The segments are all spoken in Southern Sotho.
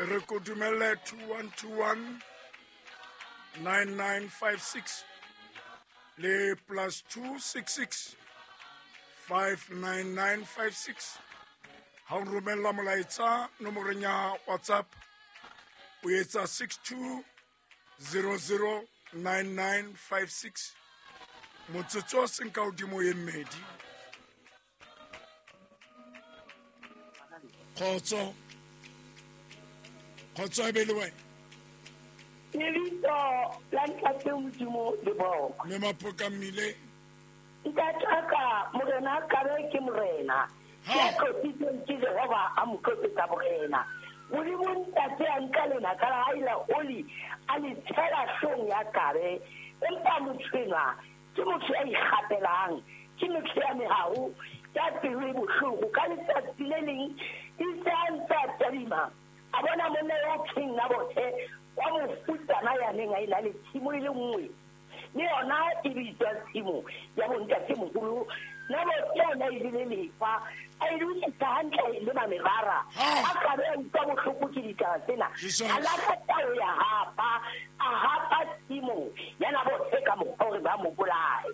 Re ko dumelle 2121 9956 le plus 266 59956. Ha o romella molaetsa nomoreng ya WhatsApp o etsa 62009956. Motsotso o seng ka hodimo e mmedi. Kgotso. Kgotso e be le wena. Lebitso la Ntate Modimo le bokwe. Mme Maphoka Mmile. Ntate wa ka, Morena a kabe ke Morena. Ya tlotsitsweng ke Jehova a mo tlotsetsa borena. Modimo Ntate a nka lenaka la hae la oli a le tshela hloohong ya Akabe. Empa motho enwa ke motho ya ikgapelang, ke motho ya meharo, ya pelo e bohloko. Ka letsatsi le leng itse a ntse a tadima, a bona monna yo thweng Nabothe wa mofutsana ya neng a ena le tshimo e le nngwe, le yona e bitswa tshimo ya bontatemoholo. Nabothe o ne a e jele lefa, a e lokisa hantle, a e lema merara. A ka be a utlwa bohloko ke ditaba tsena, a lahla tao ya hapa, a hapa tshimo ya Nabothe ka mokgwa hore ba mo bolaye.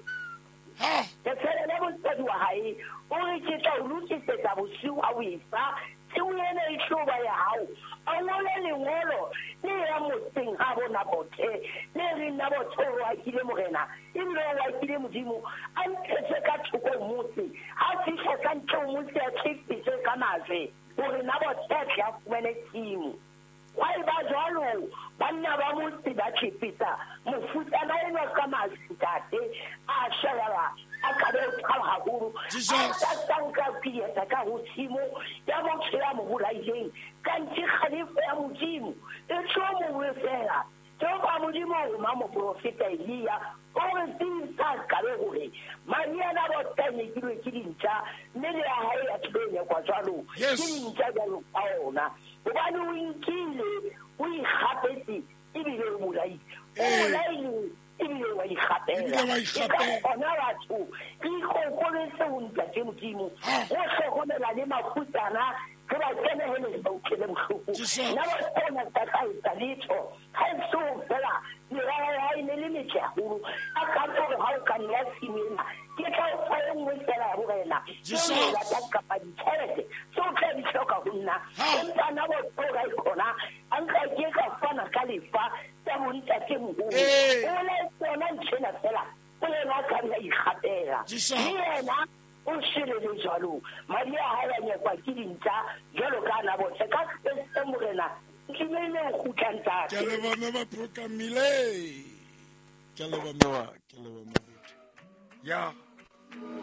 Letshwele la mosadi wa hae o re, Ke tla o lokisetsa bosiu ha o e fa, tshimo ena e tlo ba ya hao. A ngole lengolo le yang motseng habo Nabothe, le reng, Nabothe o rohakile Morena, ebile o rohakile Modimo. A ntshetswe ka thoko ho motse. Ha a fihla ka ntle ho motse, a tlefetswe ka majwe, hore Nabothe a tle a fumane tshimo. Hwa eba jwalo, banna ba motse ba tlepetsa mofutsana enwa ka majwe, ntate a shwa. Yaba Akabe o thaba haholo, a tlatsa nka dieta ka ho tshimo ya motho ya mo bolaileng, kanthe kgalefo ya Modimo e tlo mo wefela. Jehova Modimo o roma moprofeta Elia o re tsebisa Akabe hore madi a Nabothe a nyekilwe ke dintja, mme le ya hae ya tlo nyekwa jwalo ke dintja jwalo ka ona. Hobane o inkile, o ikgapetse, ebile o bolaile. O bolaile ebile wa ikgapela. E ka kgona batho re ikokobetse ho Ntate Modimo, go hlokomela le mafutsana, re ba kenehele, re ba utlwele bohloko. Nna ba kgona ka ka etsa letho ha e so fela merara ya hae ne le metle haholo. A ka gore ha o ka nna tshimo ena, ke tla o fa e nngwe fela ya borena, tseo o ratang kapa ditjhelete tseo o tla di hloka ho nna. Empa nna bo ga e khona a nka ke ka fana ka lefa tsa bontatemoholo. O laetse yona ntho ena fela, o yena a ka nna ikgapela. Le yena o shwele le jwalo, madi a hae a nyekwa ke dintja jwalo ka Nabothe. Ka Kreste Morena, ntumelle ho kgutla, ntate. Ke a leboha mme Maphoka Mmile. Ke a leboha mme wa, ke a leboha Moruti. Ya.